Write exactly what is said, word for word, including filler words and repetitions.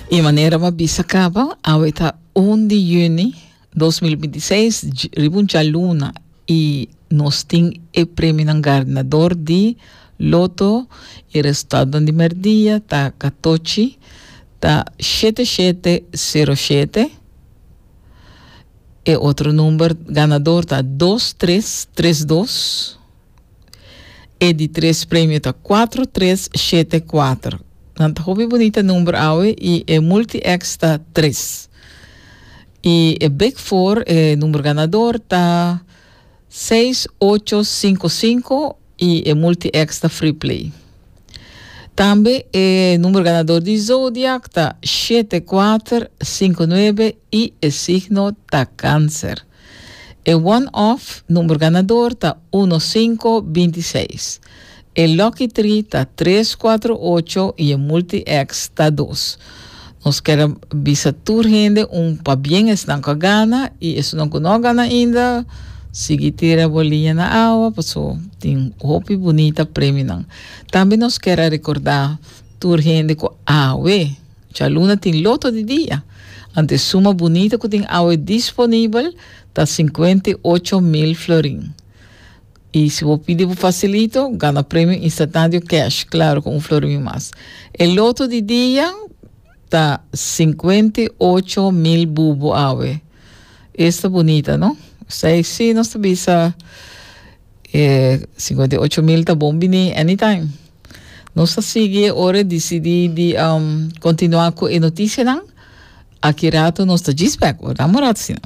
E manera m'a bisa kaba, awe ta un di yüni dos mil bintiseis, riba un djaluna, i nos tin e premio ganador di Lotto i resultado di merdia ta katochi ta shete shete sero shete. E otro number ganador ta dos tres tres dos. E di tres premio ta kuater tres shete kuater. Nan ta hopi bunita number awe i e multi X ta tres. I e Big Four, e number ganador ta seis ocho sinku sinku i e multi X ta free play. Tambe e number ganador di Zodiac ta shete kuater sinku nuebe i e signo ta Kanser. E one-off number ganador ta un sinku bintiseis. E Lucky Three ta tres kuater ocho i e multi X ta dos. Nos ke bisa tur hende un pabien, esnan ku gana i esnan ku no gana ainda, sigui tira boliña na awa, paso tin hopi bunita premio nan. Tambe nos ke rekordá tur hende ku awe djaluna tin Lotto di Dia. Anto e suma bunita ku tin awe disponibel ta sinkuenta i ocho mil florin. I si bo pidi fasilito, gana premio instantáneo cash, klaro, ku un florin mas. E Lotto di Dia ta sinkuenta i ocho mil bubu awe. Esta bunita, no? Sei, si, nos bisa eh, sinkuenta i ocho mil ta bon bini anytime. Nos ta sigui ora disidí di um, kontinuá ku e notisianan. Aki rato nos ta djis bèk, dam un rato asina.